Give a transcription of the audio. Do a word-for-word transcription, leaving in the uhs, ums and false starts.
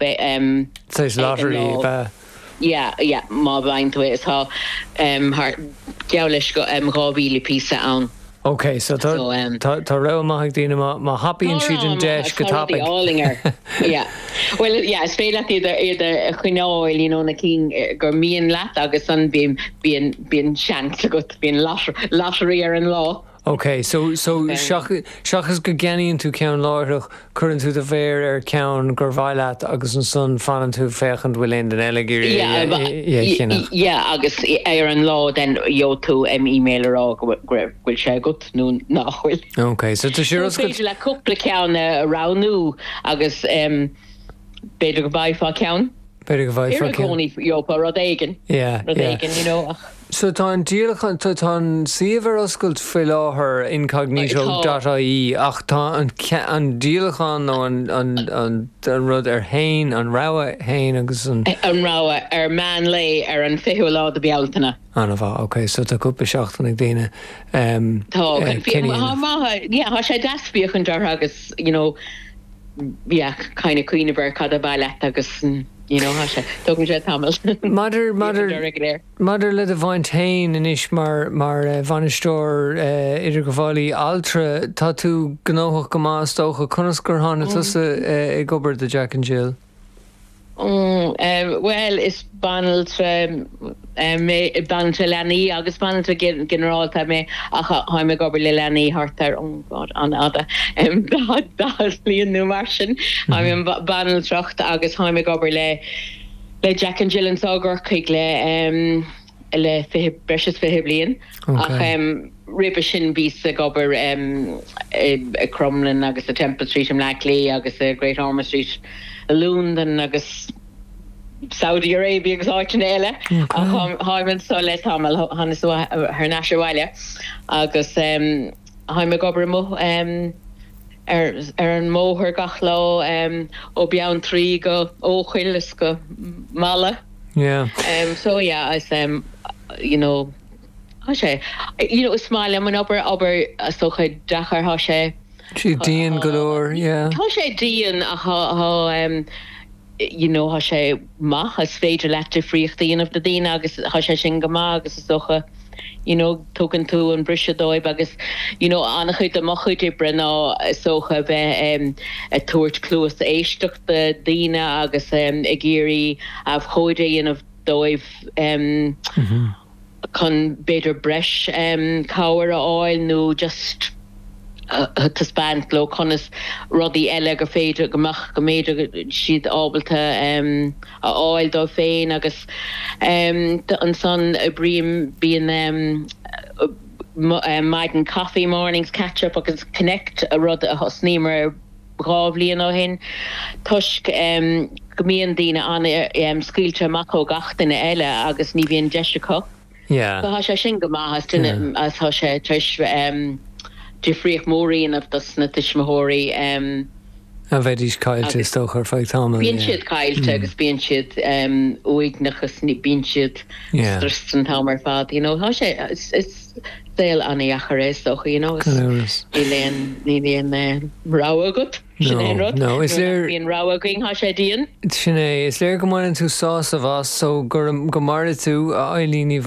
Um, lottery be Yeah, yeah, má bhain tú is tá um, geall leis go um, dhá mhíle píosa ann. Ok, so tá um, tá rogha maith ag daoine má thapaíonn siad an deis go tapaidh. Yeah. Well yeah, is féidir iad iad a choinneáil you know, na cinn eh, gur mian leat agus an bíonn bíonn bíonn seans agat bíonn lottery ar an lá. Ok, so so seachas go gceannaíonn tú ceann láithreach cuireann tú do mhéar ar ceann gur mhaith leat agus ansan fanann tú féachaint bhfuil aon duine eile ag iarraidh Yeah agus ar an lá den gheobhaidh tú em email a rá go bhfuil sé agat nó nach bhfuil. Ok, so tá sé féidir le cúpla ceann a roghnú agus b'fhéidir go bhfaighfeá ceann. B'fhéidir go bhfaighfeá ceann. Gheofá rud éigin. Yeah, Rud éigin, you know. So tá an díolachán tá tá an suíomh ar oscailt faoi láthair incognito dot ie ach tá an an díolachán nó an an an an rud ar haon an rogha haon agus an. An rogha ar meán lae ar an fichiú lá de Bealtaine. An-mhaith, ok, so tá cúpla seachtain ag daoine um, Tá, tá maith, yeah, tá sé deas féachaint orthu agus you know, yeah, kind of cuimhneamh ar cad a ba leat agus you know, tá sé, tógann sé tamall. Maidir maidir maidir le do bhaint féin anois mar mar eh, bhainisteoir eh, idirghabhálaí altra, tá tú gnóthach go maith is dócha, conas gur tháinig tusa eh, ag obair do Jack and Jill? Mm, eh, Bhuel, is banaltra eh, mé, banaltra leanaí agus banaltra ginearálta mé ach táim ag obair le leanaí thart ar oh God, an-fhada em, daichead daichead bliain nó mar sin. Táim i banaltracht agus táim ag obair le le Jack and Jill anseo i gCorcaigh le em, le fiche breis is fiche bliain ach Okay. em, roimhe sin bhíos ag obair em, i i Crumlin agus i Temple Street i mBleá Cliath agus i Great Ormond Street i Londain agus Saudi Arabia agus áiteanna eile ach táim anseo le tamall thánas thar n-ais abhaile agus em, táim ag obair amuigh em, ar ar an mbóthar gach lá em, ó Beanntraí go Eochaill is go Mala. Yeah. Um, so yeah, is um, you know, tá sé you know, is maith liom an obair obair is dócha deacair tá sé Sí dian go leor, yeah. Tá sé dian ach tá um, you know, tá sé maith is féidir leat difríocht a dhéanamh do daoine agus tá sé sin go maith agus is dócha you know, tugann tú an briseadh dóibh agus you know, an-chuid de mo chuid oibre ná is dócha bheith um, ag tabhairt cluas éisteachta daoine agus um, ag iarraidh abhcóide a dhéanamh dóibh um, chun b'fhéidir breis um, cabhair a fháil nó just uh, taispeáint leo conas rudaí eile gur féidir go mbeadh go mb'fhéidir siad ábalta um, a fháil dóibh féin agus um, ansan oibrím bíonn um, maidin coffee mornings catch up agus connect a rud a thosnaíomar dhá bhliain ó shin toisc um, go mbíonn daoine an um, scaoilte amach ó gach duine eile agus ní bhíonn deis acu. Yeah. So tá sé sin go maith as duine as tá sé tar éis um, difríocht mhór a dhéanamh dos na tuismitheoirí um, A bheidís caillte is dócha ar feadh tamaill. Bíonn yeah. siad caillte agus bíonn siad um, uaigneach agus ní bíonn siad Yeah. stressed an t-am ar fad, you know, tá sé is is saol an-deacair é is dócha, you know, is Gan amhras. níl aon níl aon eh, rogha agat. Sin No, é an rud. no, is Nuair nach léir- bhíonn rogha againn tá sé dian. Sin é, is léir go mbaineann tú sásamh as so gur go maire tú a Eileen Ní